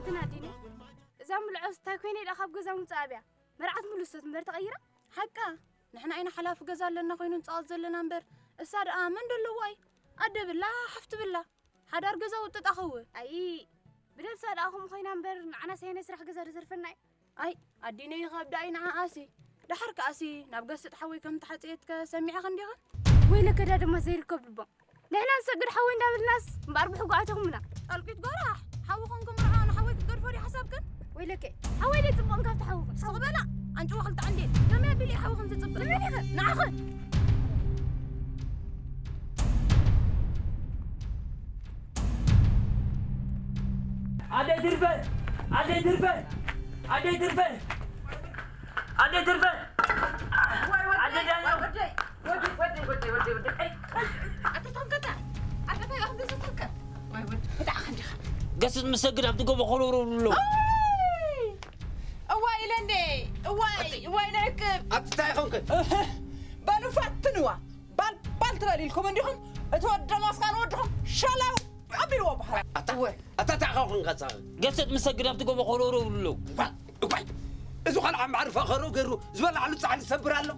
ትናዲኒ እዛ ምልዖስ እንታይ ኮይነ ኢላ ካብ ገዛ ምውፅእ ኣብያ? መርዓት ምሉሶት እምበር ተቐይራ? ሓቃ፣ ንሕና ኢና ሓላፊ ገዛ ኣለና ኮይኑ ንፃወት ዘለና እምበር፣ እሳ ደኣ መን ደለዎ ኣይ? ኣደ ብላ፣ ሓፍቲ ብላ፣ ሓዳር ገዛ ውጥጥ ኣኸው። ኣይ፣ ብደብሳ ደኣ ከምኡ ኮይና እምበር፣ ንዓና ሰየነ ስራሕ ገዛ ዶ ዘርፈና እዩ? ኣይ፣ ኣዲነ ይኸብዳ እዩ ንዓኣሲ። ደሓር ከኣሲ ናብ ገስጥ ሓወይ ከም ተሓጽየትከ ሰሚዕኻ እንዲኻ? ወይለከ ዳ ድማ ዘይርከብ ልቦም። ንሕና ንሰግድ ሓወይ እንዳበልናስ እምበኣር ብሕጉ ኣተኹምና። ጣልቂት ጎራሕ፣ ሓውኽን ክምርዖ ንሓወይ ክትገድፎ ድዩ ሓሳብክን? ወይለከ፣ ሓወይ ደይ ጽቡቕን ካብቲ ሓውኽን። ስቕ በላ፣ ኣንጭዋ ክልተ ዓንዴል። ከመይ ኣቢለ እየ ሓውኽን ዝጽብቕ? ንመን ኢኸ? ንዓኽን። ኣደይ ትርፈ! ኣደይ ትርፈ! ኣደይ ትርፈ! ኣደይ ትርፈ! ኣደይ ዳኛ! ኣታ ተንከታ! ኣታ እንታይ ኢኹም ትዝተከ? ወይ ወድ፣ ብጣዕ ከንዲኻ። ገስጥ ምስ ሰግድ ኣብቲ ጎቦ ኮለውረው ብሎ። ኣይ! እዋይ ኢለ እንዴ! እዋይ! ኣቲ እዋይ ንዕቅብ! ኣቲ እንታይ ኢኹም ከ? እህ! በሉ ፈትንዋ! ባል ባል ትበል ኢልኩም እንዲኹም እቲ ወዲ ደማስቃ ንወድኹም ሸላው ኣቢልዎ በሃላ። ኣታ እወ። ኣታ እንታይ ኢኹም ከ? ገስጥ ምስ ሰግድ ኣብቲ ጎቦ ኮለውረው ብሎ። እዋይ! እዋይ! እዚ ኸልዓ ማዕርፋ ኸሮ ገይሩ ዝበላዕሉ ጻዕሊ ሰብር ኣሎ።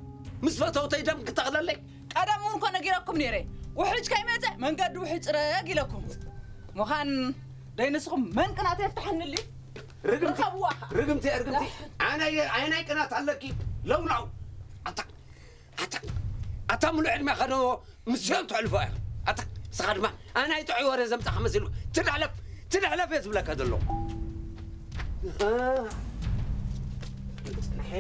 ምስ ፈተውተይ ደም ክተኽለለይ። ቀደም እውን እኮ ነጊረኩም ነይረ። ውሕጅ ከይመጸ መንገዲ ውሕጅ ጽረግ ኢለኩም። ምዃን ደይ ንስኹም መንቅናት የፍትሐንልዩ። ርግምቲ፣ ርኸብዋ ኸዓ። ርግምቲ፣ ርግምቲ። ኣነ ኣየ-፣ ኣየናይ ቅናት ኣለኪ? ለውላው። ኣታ፣ ኣታ፣ ኣታ ሙሉእ ዕድሜ ኸዶ ምስኦም ተሕልፎ እያ። ኣታ፣ ንስኻ ድማ ኣናይ ጥዑይ ወረ ዘምጻኻ መሲልኩ። ትድሕለፍ፣ ትድሕለፍ እየ ዝብለካ ዘለኹ። እ፣ ጽንሐ።